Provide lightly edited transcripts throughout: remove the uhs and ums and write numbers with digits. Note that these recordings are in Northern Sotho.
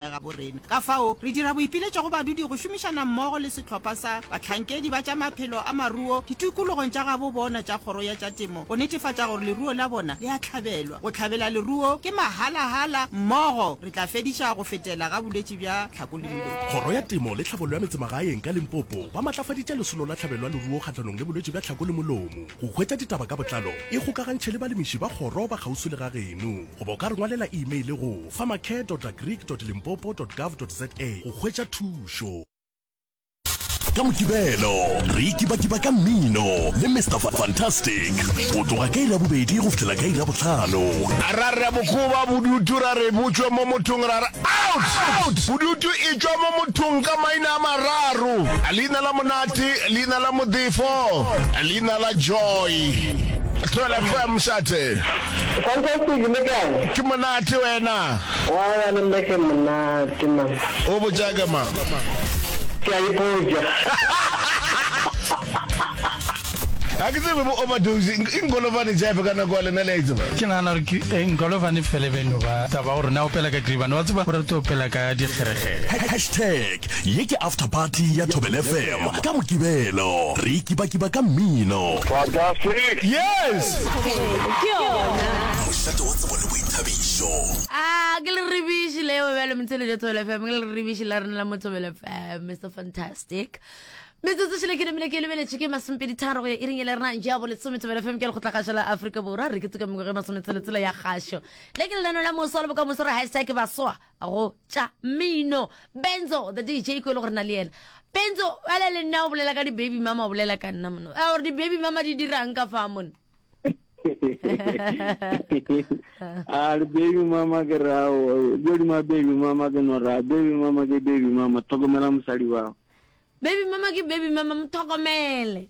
Gabo rena. Ka fao, re dira boipiletšo go badudi go šomišana mmogo le sehlopha sa bahlankedi ba tša maphelo a maruo ditikologong tša gabo bona tša Kgoro ya tša Temo go netefatša gore leruo la bona le a hlabelwa. Go hlabela leruo ke mahalahala, mmogo re tla fediša go fetela ga bolwetši bja tlhako le molomo. Kgoro ya Temo le Tlhabollo ya Metsemagaeng ka Limpopo ba matlafaditše lesolo la tlhabelo ya leruo kgahlanong le bolwetši bja tlhako le molomo. Go hwetša ditaba ka botlalo, ikgokagantšhe le balemiši ba kgoro ba kgauswi le ga geno. Goba o ka re ngwalela e-mail go farmercare dot agric dot limpopo dot gov dot za go hwetša thušo. Ka Mokibelo re ikibakiba ka mmino le Mister Fantastic go tloga ka iri ya bobedi go fihlela ka iri ya bohlano. Ra re bokoba bodutu ra re bo tšwe mo mothong ra re out! Out! Bodutu e tšwa mo mothong ka maina a mararo, leina la Monate, leina la Modefo, leina la Joy. Thobela FM, Mošate. Fantastic le kae? Ke monate wena. Aowa le nna ke monate man. O botša ke mang? Ke a ipotša. Ga ke tsebe bo overdose e nkolovane jefe ka nako ya lena le a e tseba. Ke nagana gore ke eh, Nkolovane fele be no ba taba gore na opela ka Gribane wa tseba o rata opela ka dikgerekgere. Hashtag ye ke after party ya Thobela FM ka Mokibelo. Re ikibakiba ka mmino. Fantastic! Yes! Ke yona. Mošate wa tsebo le boithabišo. A ke le rebiši leo bjale motheletša Thobela FM ke le rebiši la rena la mo Thobela FM Mr Fantastic metsotso šele ke namile ke lebeletše ke masomepedi tharo go ya iring e le rena ja bolesome Thobela FM ke lekgotlakgašo la Afrika Borwa re ke tsoka mengwaga e masometseletsela ya kgašo le ke lenano la moso le bokamoso re hashtag basoa go tša mmino Benzo the DJ ko e le gore na le yena Benzo wale le nna o bolela ka di-baby mama o bolela ka nna mono a gore di-baby mama di dirang ka fa mono a re baby mama ke rao godima baby mama ke no ra baby mama ke baby mama tlhokomela mosadi wa Baby mama ke baby mama, mo tlhokomele.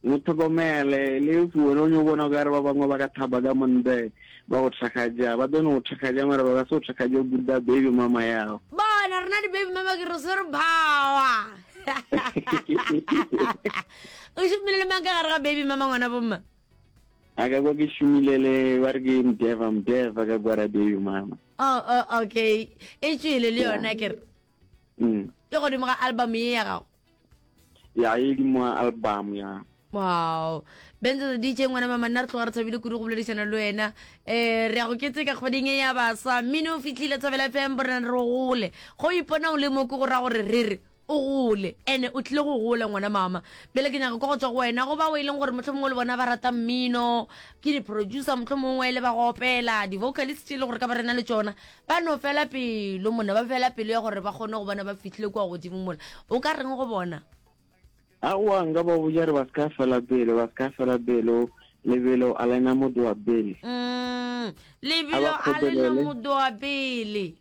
Mo tlhokomele, le if wena o nyo bona o ka re ba bangwe ba ka thaba ka montle ba go thakgaja, ba tlo no go thakgaja mara ba ka se go thakgaje go buda baby mama yago. Bona rena di baby mama ke re swere power. O šomile le mang ka gare ga baby mama ngwana bomma? A ka kwa ke šomile le ba re ke Mdeva Mdeva ka kwa ra baby mama. Oh, oh okay. E tšwele le yona ke re. Mm. E godimo ga album ye ya gago? Ya e godimo ga album ya. Wow. Benzo the DJ ngwana mama nna re tloga re thabile kudu go boledišana le wena. Eh re ya go keteka kgweding e ya baswa. Mmino o fihlile Thobela FM borena re gole. Go ipona o le mo ke go ra gore re re o gole ene o tlile go gola ngwana mama. Bjale ke nyaka kwa go tswa go wena go bao e leng gore mohlomongwe le bona ba rata mmino, ke di-producer mohlomongwe le ba go opela, di-vocalist tše e le gore ka ba rena le tšona. Ba no fela pelo mona, ba fela pelo ya gore ba kgone go bona ba fihlile kua godimo mola. O ka reng go bona? Aowa, nka ba botša re ba se ka fela pelo, ba se ka fela pelo, lebelo a le na motho wa pele. Mm, A lebelo ba a le na kgotelele. motho wa pele.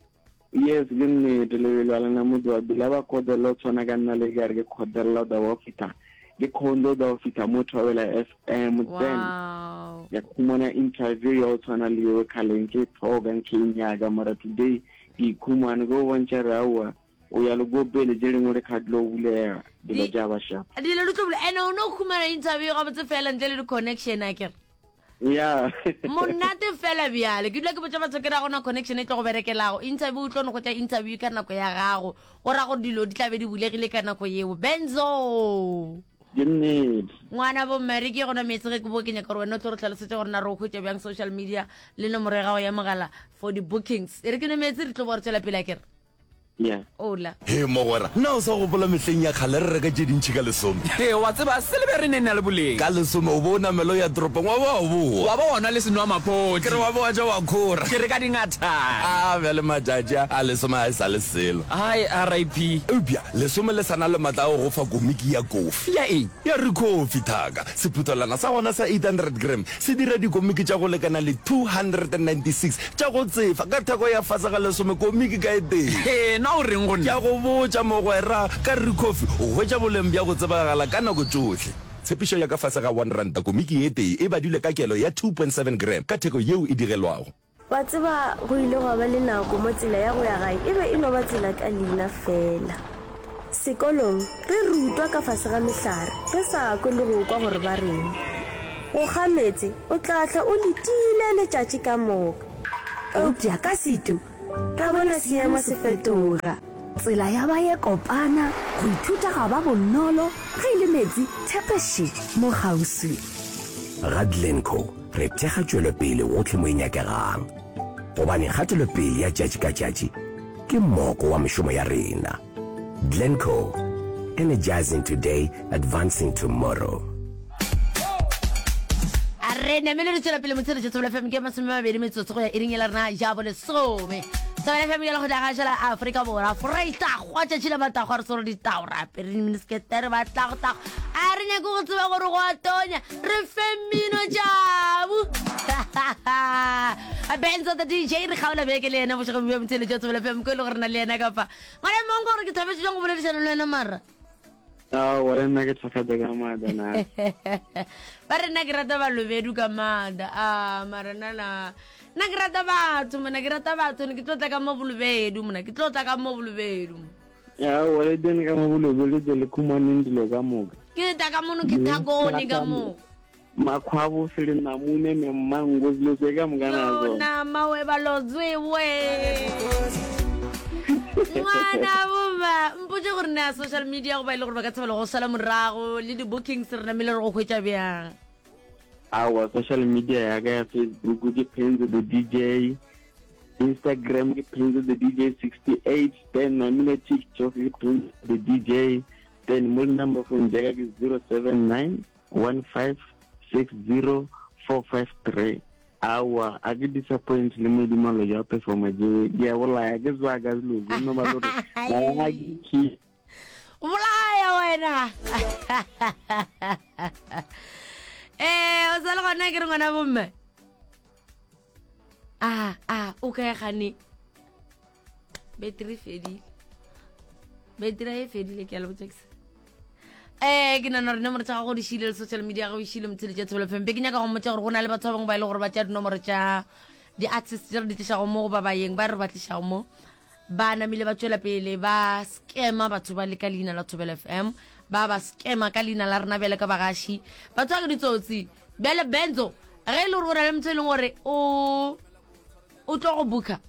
Yes, ke nnete, lebelo a le na motho wa pele. A ba kgotelele go tshwana ka nna le ka re ke kgotelela go tla go fihla, ke kgonne go tla go fihla mo Thobela FM, then Wow. ya khumana interview ya go tshwana le yeo kgale nke e tlhoka nke e nyaka mara today ke ikhumane ke go bontšha re aowa o ya le ko pele tše dingwe le kga dilo bulega dilo tša ba sharp Dilo di tlo bula. Ene o no khumana interview gabotse fela ntle le di-connection a kere. ya Monate fela bjale. Ke dula ke botša batho ke ra gona connection e tlo go berekelago. Interview o tlo no hwetša interview ka nako ya gago. Go ra gore dilo di tla be di bulegile ka nako yeo. Benzo. Ke nnete. Ngwana bo mme re ke gona meetse ge ke bo ke nyaka gore wena o tlo re tlhalosetša gore na re o hwetša bjang social media le nomoro ya gago ya mogala for di-bookings. E re ke nwe meetse re tlo bo re tšwela pele akere. Yeah. Ola. Hee mogwera, na o sa gopola mehleng ya kgale re reka tše dintši ka lesome? Hee wa tseba, se le be re ne na le boleng. Ka lesome o bo o namela o ya toropong wa ba wa boa. Wa ba wa nwa le senwamaphodi. Ke re wa ba wa ja wa khora. Ke re ka dingathana. A bjale matšatši a, a lesome ga e sa le selo. Hai RIP. Eupša Lesome le sa na le matla a go go fa komiki ya kofi. Ya eng? Ya Ricoffy, thaka. Sephuthelwana sa gona sa 800 gram se dira dikomiki tša go lekana le 296 tša go tsefa ka theko ya fase ga lesome komiki ka e tee. Hee, na o reng go Ke nna? a go botša, mogwera, ka Ricoffy o hwetša boleng bja go tsebagala ka nako tšohle. Tshepišo ya ka fase ga R1 komiki e tee e badilwe ka kelo ya 2.7 gram ka theko yeo e digelwago. Wa tseba, go ile gwa ba le nako mo tsela ya go ya gae e be e no ba tsela ka leina feela. Sekolong, re rutwa ka fase ga mehlare, re sa kwe le go kwa gore ba reng. Go kga meetse, o tla hlwa o letile letšatši ka moka. Eupša ka setu, Ra bona seemo se fetoga. Tsela ya ba ye kopana, go ithuta ga ba bonolo, ge e le meetse, thepe še, mo kgauswi. Ga Glencoe re thekga tšwelopele gohle mo e nyakegang, gobane kgatelopele ya tšatši ka tšatši ke moko wa mešomo ya rena. Glencoe, energizing today, advancing tomorrow. A re namele re tšwela pele motshelo tša Thobela FM ke 20 metsotso go ya iring ya la rena ja bolesome. Thobela FM ya lekgotla gašo la Afrika Borwa. Freistagwa tšatši la matagwa re swere ditao re apere diminiskete re batlagotago. A re nyake go tseba gore go a tonya re fe mmino jabu. Benzo the DJ re kgaola beke le yena bošego bja motshelo tša Thobela FM ko e le gore na le yena kapa. Ngwana mong gore ke thabetse jang go boledišana le wena mara. Aowa, le nna ke thakgatša ka maatla na. Ba re nna ke rata balobedu ka maatla. A mara nna na nna ke rata batho mona ke rata batho ne ke tlo tla ka mo bolobedu mona ke tlo tla ka mo bolobedu. Aowa le tene ka mo bolobedu le tle le khumaneng dilo ka moka. Ke tla ka mono ke thakone ka mo. Makhwabo fele namune me mango dilo tse ka moka na tsona. Nama we balotswe we. Ngwana boma mpotse gore na social media go ba ile gore ba ka tshabela go sala morago le di-bookings re namile re go hwetša bjang. Aowa social media ya ka ya Facebook ke Penzo the DJ, Instagram ke Penzo the DJ 68, then namile TikTok ke Penzo the DJ, then mo number phone ja ka ke 079 1560453 Aowa, a ke disappoint le modimo lo ja performa je ke a bolaya ke tswa ka dilo tse no ba lo re ga ke ki bolaya wena eh o sa le gona ke re ngwana bomme a a o kae gane beteri fedile beteri e fedile ke a le botsa ke eh ke nana gore nomoro tša gago di šile le social media gago e šile motsheletša tshebelo fm be ke nyaka go mmotša gore go na le batho ba bangwe ba e le gore ba tša dinomoro tša di-artist tše re di tlišago mo goba bayeng ba re ba tlišago mo ba namile ba tšwela pele ba scama batho ba le ka leina la thobela fm ba ba scama ka leina la rena bjale ka bagaši batho ba ke ditsotsi bjale benzo ge e le gore o na le motho e leng gore o o tlo go booker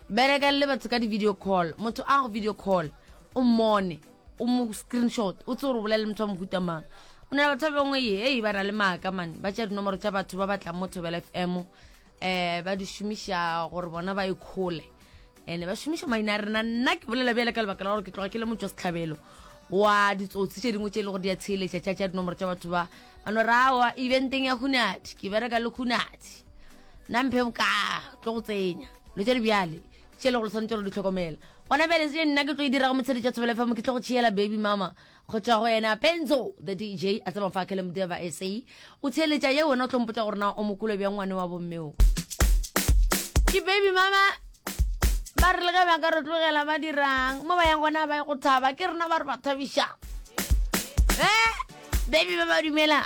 Berekang le batho ka di-video call. Motho a go video call, o mmone, o mo screenshot, o tse gore o bolela le motho wa mohuta mang. O na le batho ba bangwe ye, ba na le maaka man, ba tšea dinomoro tša batho ba batlang mo Thobela FM, eh ba di šomiša gore bona ba ikhole. Ene ba šomiša maina a rena. Nna ke bolela bjale ka lebaka la gore ke tloga ke le motšwa sehlabelo wa ditsotsi tše dingwe tše e le gore di a theeletša tša tša dinomoro tša batho ba ba no rawa eventeng ya Khunadi, ke bereka le Khunadi. Nna mphe bokaa tlo go tsenya lo tša dibjale tše le gore tshwanetse gore di tlhokomela gona bjale se nna ke tlo e dirago motshedi tša thobela fm ke tlo go tšeela baby mama go tšwa go yena penzo the dj a tseba fa kele modeva sa o theeletša ye wena o tlo mpotša gore na o mokolo bjang ngwane wa bommeo ke baby mama ba re le ge ba ka re tlogela ba dirang mo ba yang gona ba ye go thaba ke rena ba re ba thabiša eh baby ba ba dumela.